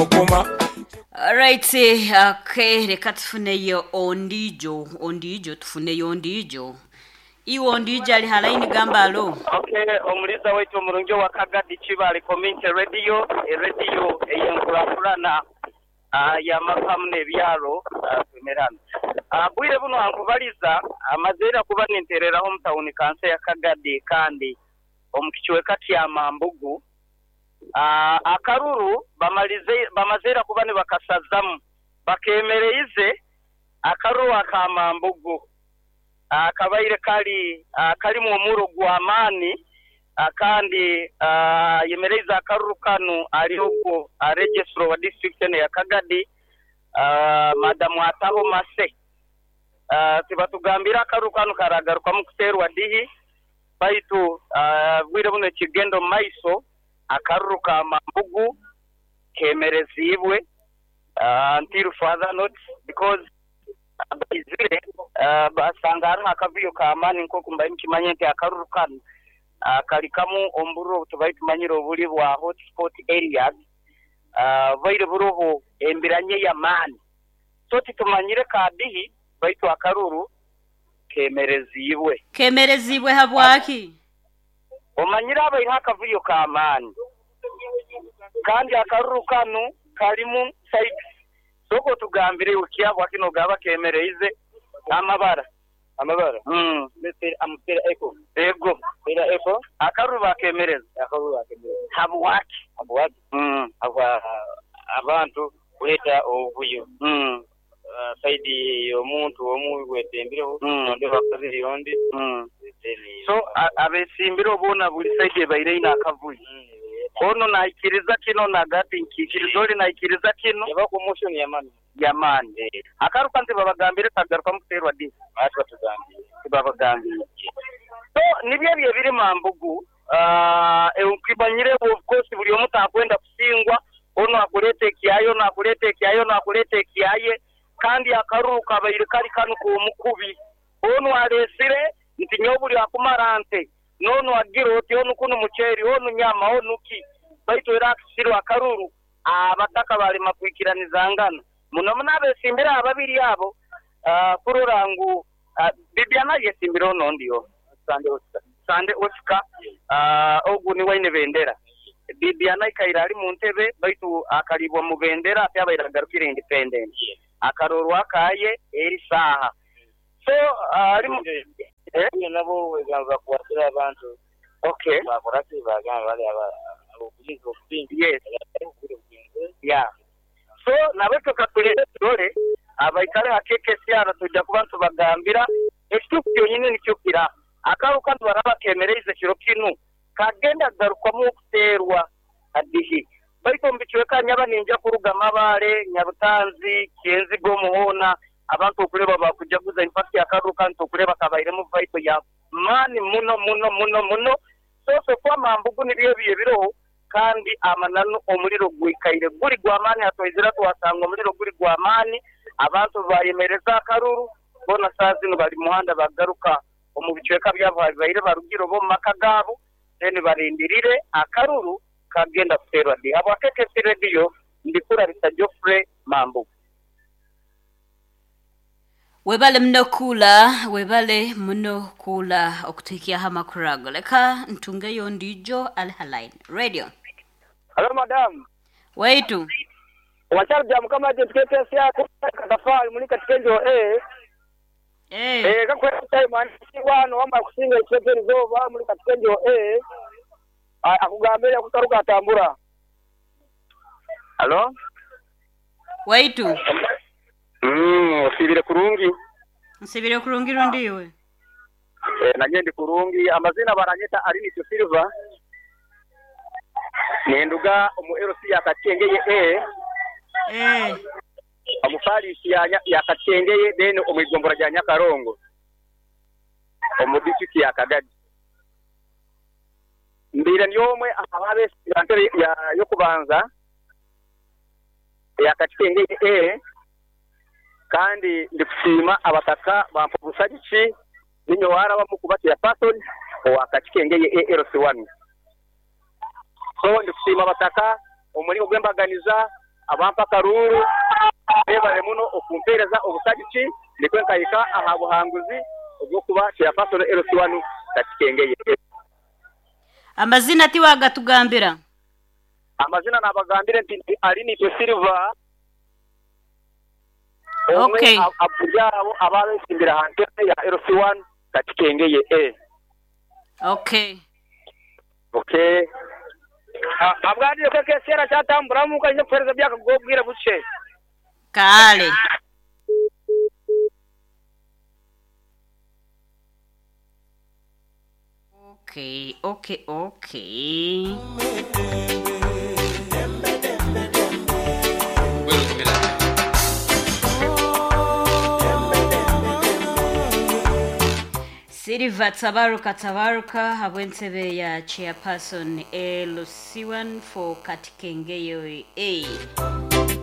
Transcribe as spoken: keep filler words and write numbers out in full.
Okoma. Alright, okay, reka tufuneyo ondijo, ondijo tufuneyo ondijo. Iwe ondijo ali halaini gamba alo. Okay, omuliza waitu omurungi wa Kagadi Kibale Community Radio, e radio eyenkurakurana uh, y'amakamu n'ebyaro uh, twemerana. Uh, bwire buno ankubaliza amazeera kuba nintereraho mu tawuni kanso ya Kagadi kandi omu kicweka kya Mambugu. Uh, akaruru bamalize bamazeera kuba nibakasazamu bakemereize akaruru aka Mambugu akabaire kali uh, kalimu omuro gw'amaani uh, kandi uh, yemereize akaruru kanu ali ogwo registrar wa district eno ya Kagadi, uh, Madamu Ataho Mase. uh, tibatugambira akaruru kanu karagarukamu kuteerwa dihi, baitu uh, bwire buno ekigenda omu maiso akaruru ka Mambugu kemerezibwe uh, until further notice because baizire uh, basanga hariho akavuyo k'amaani. Nk'oku mbaire mukimanye nti akaruru kanu uh, kali kamu omubururu obu tubaire tumanyire obuli bwa hotspot areas, uh, baire buroho embiranye y'amaani, so titumanyire kadihi, baitu akaruru kemerezibwe. Kemerezibwe habwaki? Omanyire abaireho akavuyo k'amaani kandi akaruru kanu kalimu sides. Soko tugambire ukyabwa kino gaba kemereize amabara. Amabara. mm. Amupera eko. Ego. Pera eko. Akaruru bakemereza. Akaruru bakemereza. Habwaki? Habwaki? mm. Habwa abantu kuleta obuvuyo. mm. Uh, side y'omuntu omu gwetembireho Mm. ondi wakabiri ondi. mm. Then So a- abesimbire obuona buli side ebaire ine akavuyo, ono naikiriza kino nagati nkikiriza oli naikiriza kino. Yaba commotion y'amaani. Yamaani. Akaruka nti babagambire kagarukamu kuteerwa di? Ati batugambire. Tibabagambire. So nibyo ebyo ebiri Mambugu. uh, nkimanyire of course buli omu takwenda kusingwa, ono akuleta ekyaye, ono akuleta ekyaye, ono akuleta ekyaye, kandi akaruru kabaire kali kanu k'omukubi, ono alesire nti nyowe buli akumara nte nono agira oti onu kunu muceeri, onu nyama, onu ki, baitu era akisirwe akaruru abataka balema kwikiranizangana muno muno abesimbire ababiri abo uh, kurora ngu uh, Bibiana yesimbire ono ndio Sande Oscar. Sande Oscar, uh, ogu ni waine bendera. Bibiana ikaira ali mu ntebe, baitu akalibwa mu bendera ate abaire agarukire independent akarorwa akaye eri saaha, so uh, ali mu eh? Nabo wegamba bakwatira abantu. Okay. Bakora ki, bagamba bali aba obulinzi obupingi. Yes, yeah, so nabwe katulinde turole abaikale hakekesyara tujja kuba ntubagambira ekituufu kyonyini nikyo kira akaruka nibaraba kemereize kiro kinu kagenda kugarukwamu okuteerwa adihi. Baitu omu bicweka nyaba ninja kuruga Mabale, Nyabutanzi, Kyenzigo, Muhoona, abantu okuleba bakujaguza. In fact akaruka nti okuleba kabairemu vibe ya maani muno muno muno muno. So so kwa Mambugu nibyo ebyo ebiroho kandi amananu omuliro gwikaire guli gw'amaani. Hatwaizira twasanga omuliro guli gw'amaani, abantu bayemereza akaruru bona saa zino bali muhanda bagaruka omu bicweka byabo baire barugire oba omu maka gaabo, then barindirire akaruru kagenda kuteerwa di. Habwa K K C Radio, ndikurabisa Geoffrey, Mambugu. Webale muno kula, webale muno kula okutuhikiaho amakuru ago. Leka ntungeyo ndijo ali haline radio. Hello, madam. Waitu. Wachari bya mukama agent K K S yako katafari muri katika eh eh eh kakwe time wano wama kusinga ekipere zoba muri katika eh akugambira kukaruka atambura. Halo. Waitu. mm osibire kurungi? Nsibire kurungi rundiwe. Eh, nanye ndi kurungi. Amazina baranyeta Arinityo Silva, ninduga omu L C ya Kachengeye A, eh omu parish ya, Nya- ya Kachengeye, then omu igombora rya Nyakarongo omu district ya Kagadi. Mbire ndi omwe ababeesimbira ntebe ya yokubanza ya Kachengeye A, kandi ndikusiima abataka bampa obusagiki ninyo warabamu kuba chairperson owa Kachikengeye A L C one. So ndikusiima abataka omuringo gw'embaganiza. Abampa akaruru bebale muno okumpereza obusagiki nikwe nkahika aha buhanguzi obwokuba chairperson L C one Katikengeye. Amazina tiwagatugambira. Amazina nabagambire nti ndi Arinitwe Silva. Okay. Omwe aburyabo ababesimbira aha ntebe ya L C one Katikengeye A. Okay. Okay. Abwandire ko kesera cyatamburamu kanje kuhereza byakagobwira buce. Kale. Okay, okay, okay. Silva Tabaruka Tabaruka habwentebe ya chairperson L C one for Katikengeyo A.